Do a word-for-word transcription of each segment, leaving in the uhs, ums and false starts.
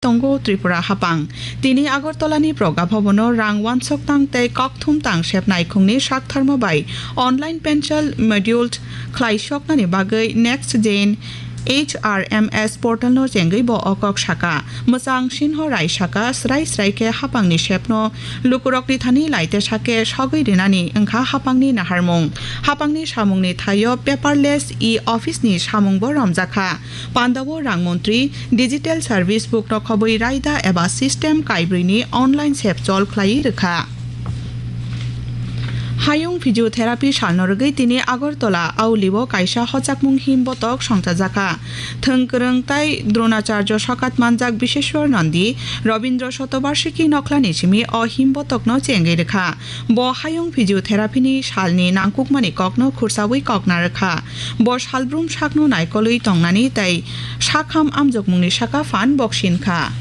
tongo Tripura hapang. Tini Agartala ni Praga Bhavan o rang wansok tang tei kokthum tang sep naikhung ni saktharma bai online pencil module khlai soknani bagwi Next Gen H R M S portal no chengwi bo o kok saka. Mwchang Sinho Rai saka, srai srai khe hapang ni sep no lukurok ni thani lai tesa khe sogwi rinani wngkha hapang ni naharmung. Hapang ni samung ni thaio paperless e-office ni samung bo romjakha. Pandao rang montri digital service book no khobwi raida eba system kaibrwi ni online sep chol khlai rwkha. Hayung physiotherapy salno rwgwi tini Agartala Auli o kaisa hojakmung him botok songchajakha. Thwng kwrwng tai Dronacharya sokat manjak Biseshwar Nandi Robindra Shatobarshiki nokhlani simi o him botokno chengwi rwkha. Bo hayung physiotherapy ni salni nangkukmani kokno khursawi kokna rwkha. Bo salbrum sakno naikolwi tongnani tei sakham amjokmungni saka phan boksinkha.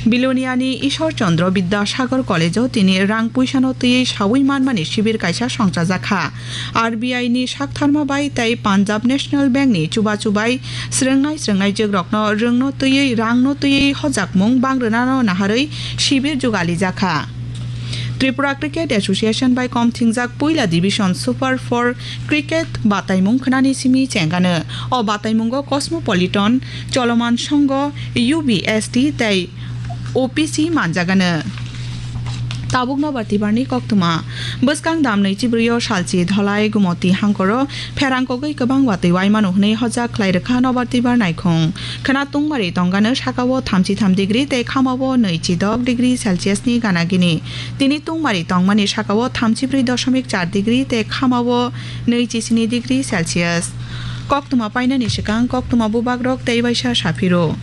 Biloniani Ishwar Chandra Bidyasagar College o tini rang puisano twiwi sawi manmani sibir kaisa songchajakha. R B I ni saktharma bai tei Punjab National Bank ni chubachu bai srwngnai srwngnai jwkrokno rwngno twiwi rangno twiwi hojakmung bang rwnano naharwi sibir jugalijakha. Tripura Cricket Association bai kom thingjak puila division Super four cricket bataimung khnani simi chengano. O bataimungo Cosmopolitan, Choloman Songho, U B S T tei O P C manjagano. Tabuk nobar tibarni koktwma. Bwskang dam nwichibrwi o salchi Dholai Gumoti hangkoro pherang kogwi kwbang watwi waimano hwnwi hojak khlai rwkha nobar tibar naikhung. Khwna tungmari tongano sakao thamchi tham degree tei khamao nwichi dok degree Celsius ni gana gini. Tini tungmari tongmani sakao thamchi brwi doshomik char degree tei khamao nwichi sini degree Celsius. Koktwma painani swkang koktwma bubagrok tei waisa saphiro.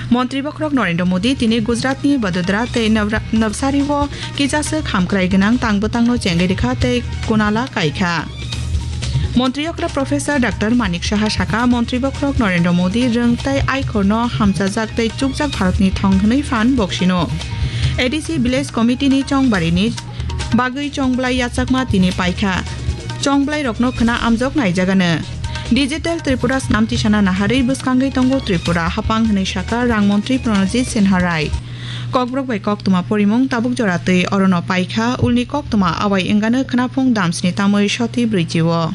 Montri bokhorok Narendra Modi tini Gujaratni Vadodara tei Navra-, Navsari o kijaswk hamkrai gwnang tang bwtangno chengwi rwkha tei kunala kaikha. Montri okra Professor Doctor Manik Saha saka, Montri bokhorok Narendra Modi rwng tei aikhorno hamchajak tei chukjak Bharatni thong hwnwi phan boksino. A D C Village Committee ni chongbarini bagwi chongblai yachakma tini paikha. Chongblairokno khwna amjok naijagano. Digital Tripura snam tisana naharwi bwskangwi tongo Tripura hapang hwnwi saka rang montri Pranajit Sinha Rai. Kokborok bai koktwma porimung tabuk jora twi orono paikha, ulni koktwma awai wngano khwnaphung damsni tamwi soti brwichi o.